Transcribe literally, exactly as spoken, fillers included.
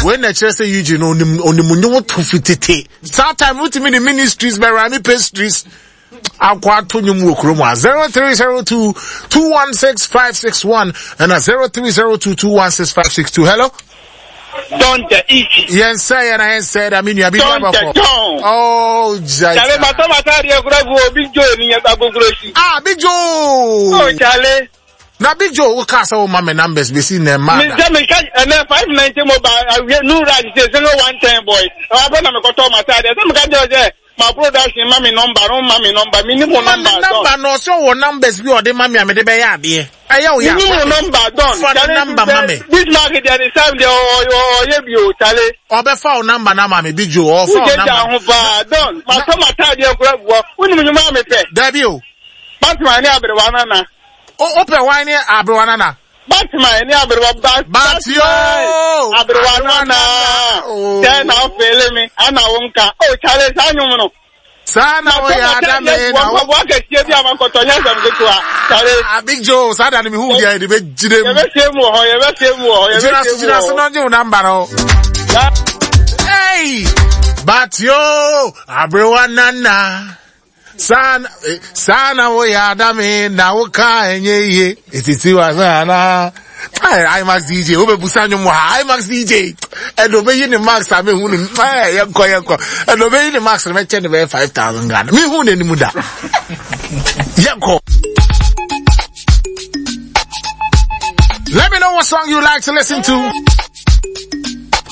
Wei na ɛkyerɛ sɛ Eugene onim onim nnwom to fi tete. Saa time wotumi de ministries bɛra ne pastries akɔ ato nnwom wɔ kurom a zero three zero two two one six five six one ɛna zero three zero two two one six five six two. Hello. Don the Ichi. Yɛn sɛ yɛn na yɛn sɛ da mi nua bi Don ba the kɔ. Don. Oh jai. Chale mata mata adeɛ kura gu obi jo ni yɛn agogoro si. Ah Big Joe. Oh chale. Na Big Joe wo kaa sɛ wo ma me numbers besi na ɛma Mi da. sɛ mi ka ɛnɛ five ninety mobile awie new raj sɛ single one ten boy. Ɛwɔ abɛ na mi kɔtɔ mata adeɛ sɛ mi ka jɛ sɛ ma production ma mi number no ma mi number mi ni mo Ma me number don. number na ɔsɛ ɔwɔ numbers bi a ɔde ma me a mede bɛyɛ adeɛ. Ɛyɛ wo Mi ya. ni mo number don. Fa ne number ma me. This market deɛ de sam deɛ ɔyɛ bi o chale. Ɔbɛfa wo number na ma me Big Joe. Ɔfa wo Wújẹ jà number. ho paa don. Mata mata adeɛ kura gu hɔ. Wúni mi nyuma mi pɛ. Dabi o. Batman ne aberewa nana. O wopɛ wan ne aberewa nana. Batman ne aberewa ba. Bat yo. Aberewa nana. Oh. Sɛ na ɔfeele mi, ana wo nka. O chale saa nwom no. Saa na woyɛ adame na wo. Mpaboa kɛseɛ bi a makɔtɔ nyɛ asɛm ketewa. Chale Ah Big Joe saa da no mehu deɛ yɛde bɛgyina mu. yɛbɛsie mu wɔ hɔ, yɛbɛsie mu wɔ hɔ, Gyina yɛbɛsie so mu gyina wɔ so hɔ. na ɔgye wo number no. Hey! But yo, aberewa nana. Saa na eh, saa na woyɛ adame na woka ɛnyɛ yie. Etiti wa sana. Hey, IMAX D J, wobɛbusa nnwom wɔ ha. IMAX D J. Ɛna obeyi ne max a mehu ne eh yɛnkɔ yɛnkɔ. Ɛna obeyi ne max no mɛkyɛ ne bɛyɛ five thousand Ghana. Mehu n'anim da. Yɛnkɔ. Let me know what song you like to listen to.